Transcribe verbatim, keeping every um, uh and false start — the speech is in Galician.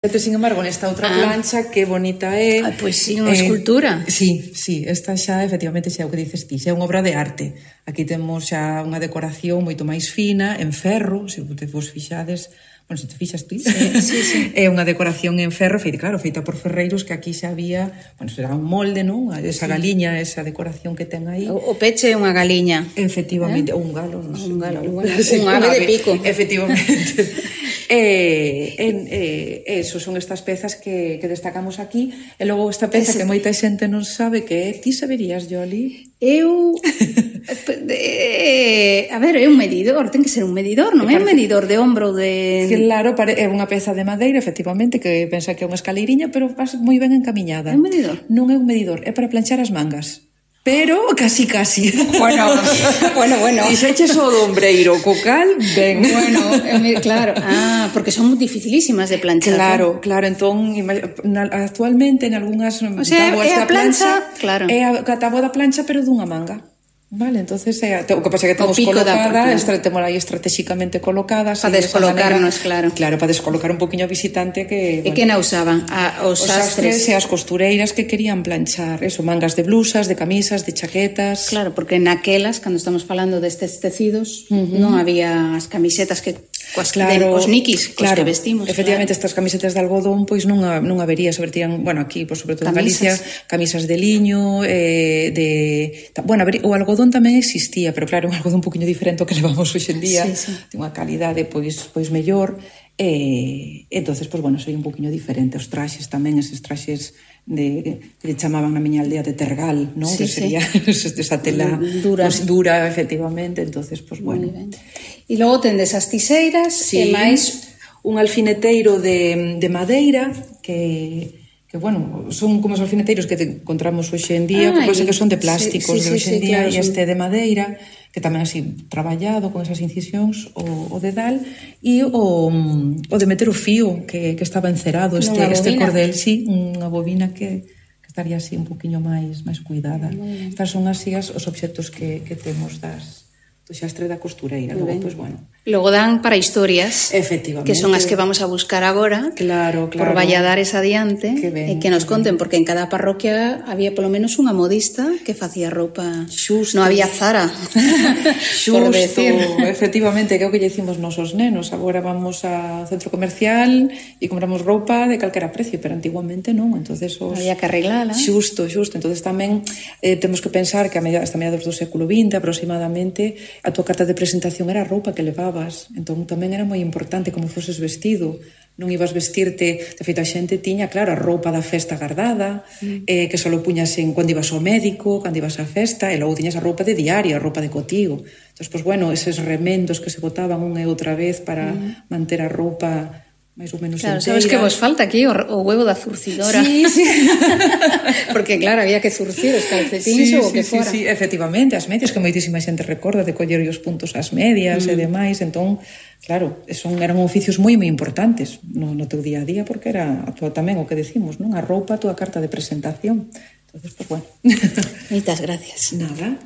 Sin embargo, nesta outra plancha, que bonita é... Ah, pois sí, unha escultura. Sí, sí, esta xa, efectivamente, xa é o que dices ti, xa é unha obra de arte. Aquí temos xa unha decoración moito máis fina, en ferro, se te vos fixades... Bueno, se te fixas ti, sí, sí, sí. É unha decoración en ferro, feita, claro, feita por ferreiros, que aquí xa había, bueno, será un molde, non? Esa sí. galiña, esa decoración que ten aí. O, o peche é unha galiña. Efectivamente, eh? ou un galo, non sei. Un galo, un, bueno, sí, un ave de pico. Efectivamente. E, en, eh, eso, son estas pezas que, que destacamos aquí. E logo esta peza Ese... que moita xente non sabe que é. Ti saberías, Yoli? Eu... eh, a ver, é un medidor, ten que ser un medidor, non é un medidor de ombro de... Claro, é unha peza de madeira, efectivamente, que pensa que é unha escaleiriña, pero vas moi ben encamiñada. É un medidor? Non é un medidor, é para planchar as mangas. Pero casi, casi. Bueno, bueno, bueno. E xa eches o do ombreiro, co cal, ben. Bueno, claro. Ah, porque son dificilísimas de planchar. Claro, claro. Entón, actualmente, en algunhas o sea, tabuas da plancha, plancha, claro. É a táboa da plancha, pero dunha manga. Vale, entonces é, o que pasa é que temos colocada, temos aí estratégicamente colocadas para descolocarnos, claro. Claro, para descolocar un poquinho ao visitante que, e bueno, que na usaban? A, os, os sastres. sastres e as costureiras que querían planchar, eso, mangas de blusas, de camisas, de chaquetas. Claro, porque naquelas, cando estamos falando destes tecidos, uh-huh. non había as camisetas que coas claro, os niquis, cos claro, que vestimos. Efectivamente, claro. Estas camisetas de algodón, pois non, non habería, sobre tían, bueno, aquí, pois, sobre todo en Galicia, camisas de liño, eh, de... Bueno, o algodón tamén existía, pero claro, un algodón un poquinho diferente ao que levamos hoxe en día, sí, sí. Ten unha calidade, pois, pois mellor, e entonces, pois, bueno, soy un poquinho diferente. Os traxes tamén, eses traxes de, que chamaban na miña aldea de tergal, non? Sí, que sería sí. esa tela dura, pues, dura efectivamente, entonces, pois, pues, bueno. E logo tendes as tiseiras, sí, e máis un alfineteiro de, de madeira, que... que, bueno, son como os alfineteiros que encontramos hoxe en día, ah, que pasa que son de plásticos sí, sí, de hoxe en día, claro, e este de madeira, que tamén así traballado con esas incisións, o, o dedal, e o, o de meter o fío, que, que estaba encerado, este, este cordel, sí, unha bobina que, que estaría así un poquinho máis máis cuidada. Mm. Estas son así as, os obxectos que, que temos das do xastre da costureira. Logo, pois, pues, bueno. Logo dan para historias, efectivamente, que son as que vamos a buscar agora, claro, claro, por Valladares adiante, que ben, e que nos conten, porque en cada parroquia había polo menos unha modista que facía roupa. Xusto. Non había Zara. Xusto, efectivamente, que é o que lle dicimos nosos nenos. Agora vamos ao centro comercial e compramos roupa de calquera precio, pero antiguamente non. Entonces, os... había que arreglala. Xusto, xusto. Entonces tamén eh, temos que pensar que a media, hasta mediados do século vinte aproximadamente, a tua carta de presentación era a roupa que levabas, entón tamén era moi importante como foses vestido, non ibas vestirte, de feito a xente tiña, claro, a roupa da festa guardada, mm. eh, que só puñas en cando ibas ao médico, cando ibas á festa, e logo tiñas a roupa de diario, a roupa de cotigo. Entón, pois, bueno, eses remendos que se botaban unha e outra vez para mm. manter a roupa máis ou menos claro, enteira. Sabes que vos falta aquí o, o huevo da zurcidora. Sí, sí. Porque, claro, había que zurcir os calcetins sí, ou o sí, que fora. Sí, sí, efectivamente, as medias, que moitísima xente recorda de coller os puntos ás medias mm. e demais, entón, claro, son, eran oficios moi, moi importantes no, no teu día a día, porque era a tua, tamén o que decimos, non? A roupa, a tua carta de presentación. Entonces, pues, bueno. Moitas gracias. Nada.